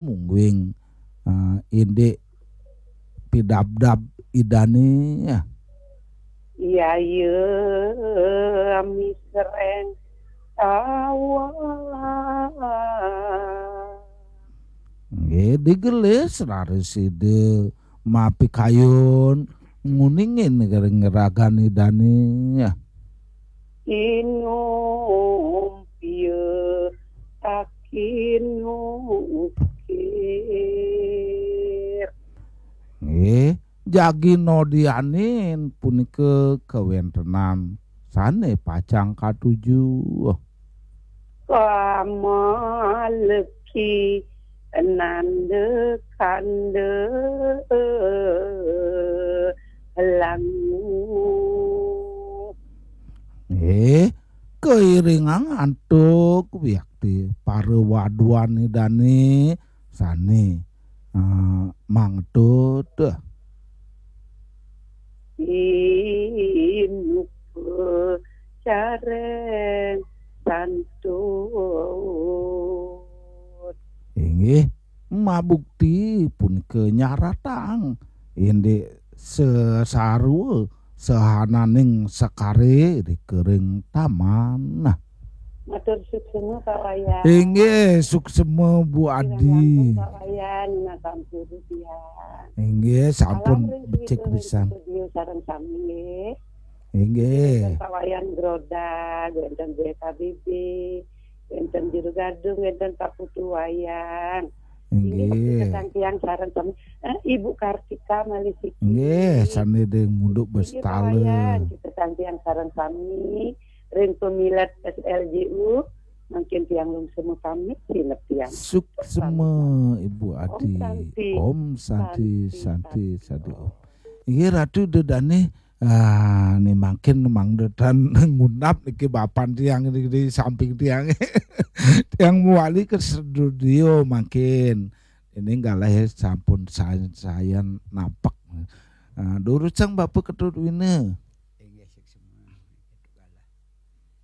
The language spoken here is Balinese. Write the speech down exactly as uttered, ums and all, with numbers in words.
mungguing, eh, indik pidabdab Ida né, ya. Iya, iya, misreng tawa. Nggih, digelis raris Ida mapikayun nguningin ring ragan Ida né, ya. Inum pia takin ukir. Nggih, jagi nodianin punika kawéntenan sané pacang katuju. Kamaleki nanda kanda langu. Eh, kairingang antuk wiakti para waduan Ida né sané, eh, mangtut. Inupa careng santut. Inggih, mabukti punika nyaratang indik sesarwa sahananing sekare ring taman. Nah. Matur suksma, Pak Wayan. Inggih, suksma, Bu Adi. Pak Wayan, nah, sampun, ya. Inggih, sampun. Salam ring becik pisan. Studio sareng sami, nggih. Inggih. Wénten Pak Wayan Grodag, wénten B K B B, wénten Juru Gadung, wénten Pak Putu Wayang. Inggih. Inggih, titiang sareng sami. Eh, Ibu Kartika malih siki. Inggih, sané ring Munduk Inggih, Pak Bestala. Wayan, titiang sareng sami ring pamilet S L J U. Mangkin tiang lungsur pamit, sinep tiang. Suksma, Ibu Adi. Om Santi. Om Santi, Santi, Santi, Santi, Santi. Om. Inggih, Ratu Ida dané, ah, né mangkin mangda tan ngundap niki bapan tiang niki di samping tiang. Tiang mawali ka studio mangkin. Ini galahé sampun sayan-sayan nampek. Ah, durusang Bapak Ketut Wina.